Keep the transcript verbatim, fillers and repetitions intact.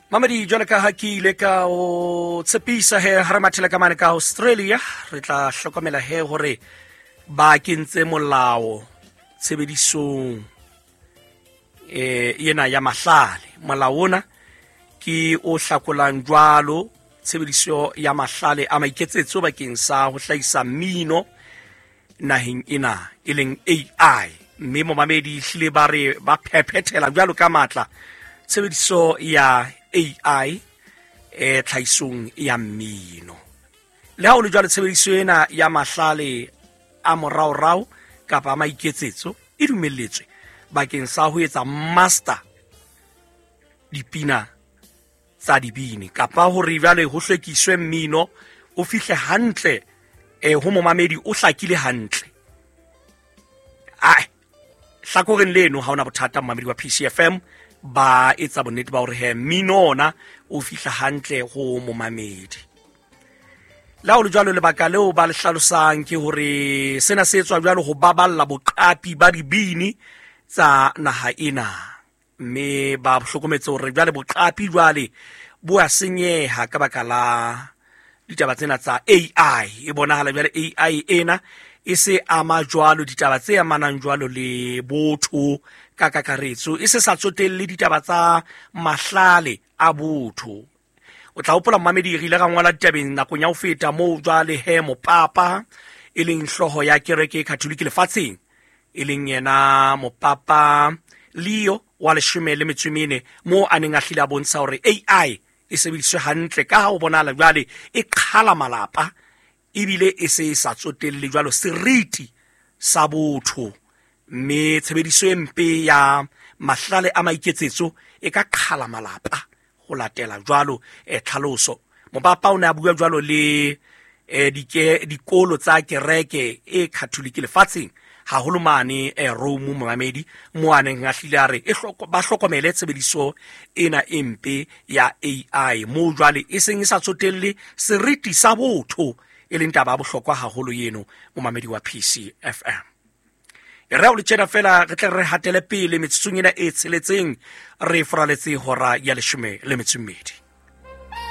Mamedi, jwale ka ha ke ile ka o tshepisa he ha re mathela ka mane ka Australia, re tla hlokomela he hore ba kentse molao tshebedisong eh ena ya mahlale. Molao ona ke o hlakolang jwalo tshebediso ya mahlale a maiketsetso bakeng sa ho hlahisa mmino naheng ena e leng A I. Mme momamedi hlile ba re ba phephethela jwalo ka matla tshebediso ya A I e tlhahisong ya mmino. Le ha ho le jwalo, tshebediso ena ya mahlale a moraorao kapa a maiketsetso e dumelletswe bakeng sa ho etsa master dipina tsa dibini, kapa hore jwale ho hlwekiswe mmino o fihle hantle eh ho momamedi o hlakile hantle. Ai, hlakoreng leno ha ona bothata momamedi wa P C F M, ba etsa bonnete ba hore he mmino ona o fihla hantle ho momamedi. Le ha ho le jwalo, lebaka leo ba le hlalosang ke hore sena se etswa jwalo ho baballa boqapi ba dibini tsa naha ena, mme ba hlokometse hore jwale boqapi jwale bo a senyeha ka baka la ditaba tsena tsa A I. E bonahala jwale A I ena e se ama jwalo ditaba tse amanang jwalo le botho ka kakaretso, e se sa tsotelle ditaba tsa mahlale a botho. O tla hopola momamedi, re ile ra ngola ditabeng nakong ya ho feta moo jwale he mopapa e leng hlooho ya kereke e Katholike lefatsheng, e leng yena mopapa Leo wa leshome le metso e mene, moo a neng a hlile a bontsha hore A I e sebediswe hantle ka ha ho bonahala jwale e qhala malapa ebile e se e sa tsotelle jwalo seriti sa botho, mme tshebediso e mpe ya mahlale a maiketsetso e ka qhala malapa ho latela jwalo eh, tlhaloso. Mopapa o ne a bua jwalo le eh, dike, dikolo tsa kereke e Katholike lefatsheng, haholo mane eh, Rome momamedi, mo a neng a hlile a re e hloko, ba hlokomele tshebediso ena e mpe ya A I moo jwale e seng e sa tsotelle seriti sa botho, e leng taba ya bohlokwa haholo eno momamedi wa P C F M. E re ha o le tjena fela re tle re hatele pele metsotsong ena e tsheletseng, re foraletse hora ya leshome le metso e mmedi.